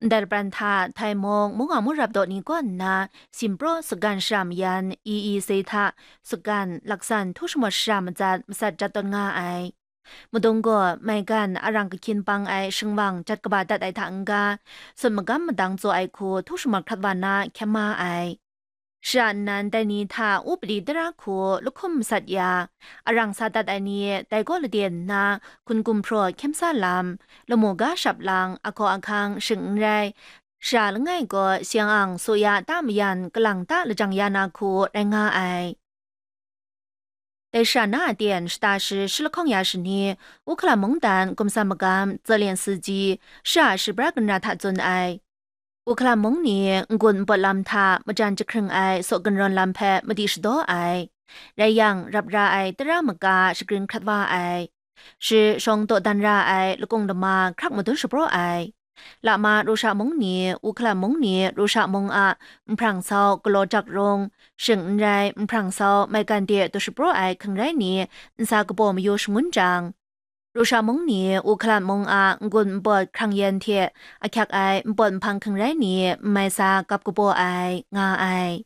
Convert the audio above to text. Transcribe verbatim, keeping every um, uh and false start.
Ndai lapran hta Thai mung, mung a mung rap daw ni kaw nna, Simpraw Sugan shara mayan, E E C hta Sugan laksan htu shamawt shara matsat masat jat tawn nga ai. Madung gaw maigan arang kahkyin pang ai shingwang jat kaba dat ai hta n-ga, sut magam madang tsaw ai hku htu shamawt hkrat wa na hkyem ma ai. Shara nnan dai ni hta upadi tara hku lahkum masat ya, arang sa dat ai ni dai gaw lade nna, hkun gumhpraw hkyem sa lam, lamu ga shap lang, ahkaw ahkang shing n rai, shara langai gaw siang ang, suya ta mayan, kalang ta lajang ya na hku rai nga ai. Dai shara na a ten shata shi shi lahkawng ya shani, Ukhalam mungdan gumsa magam Zelian Siji shara shibra ginra hta tsun ai. Ukhalam mung ni n-gun n pawt lam hta majan jahkring ai saw ginrawn lam hpe madi shadaw ai. Rai yang, rap ra ai tara maga shagrin hkrat wa ai. Shi shawng dawdan ra ai lakung lama hkrak madun shapraw ai. Lama Rusha mung ni, Ukhalam mung ni, Rusha mung a nhprang sau galaw jak rung, shing n rai, nhprang sau maigan de daw shapraw ai hkring rai ni, nsa kabaw mayu shangun jang, Rusha mung ni, Ukhalam mung a n-gun n pawt hkrang yen hte ahkyak ai n pawt nhpang hkring rai ni, n mai sa gap kabaw ai, nga ai.